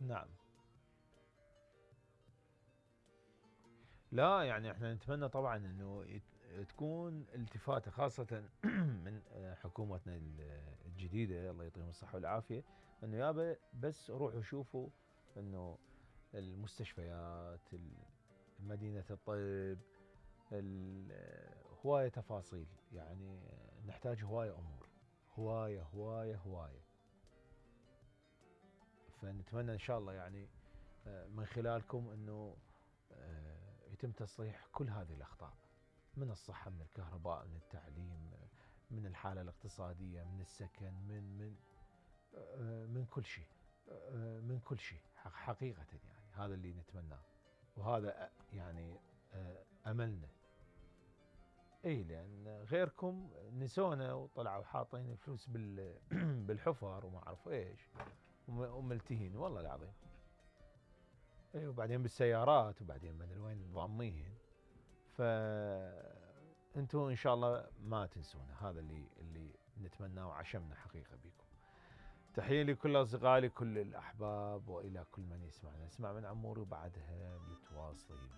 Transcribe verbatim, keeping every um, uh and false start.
نعم. لا يعني احنا نتمنى طبعا انه تكون التفاته خاصة من حكومتنا الجديدة الله يعطيهم الصحة والعافية، انه يابا بس روحوا شوفوا انه المستشفيات، مدينة الطب، هواية تفاصيل، يعني نحتاج هواية امور، هواية هواية هواية. فنتمنى ان شاء الله يعني من خلالكم انه يتم تصليح كل هذه الاخطاء، من الصحة، من الكهرباء، من التعليم، من الحالة الاقتصادية، من السكن، من من من كل شيء، من كل شيء حقيقة يعني هذا اللي نتمناه، وهذا يعني املنا. اي لان غيركم نسونا وطلعوا حاطين الفلوس بالحفر وما اعرف ايش وملتهين والله العظيم. اي وبعدين بالسيارات وبعدين ما ادري وين ضامين. ف انتم ان شاء الله ما تنسونا، هذا اللي اللي نتمناه وعشمنا حقيقه بكم. تحيه لكل اصدقائي، لكل الاحباب، والى كل من يسمعنا. نسمع من عموري وبعدها متواصلين.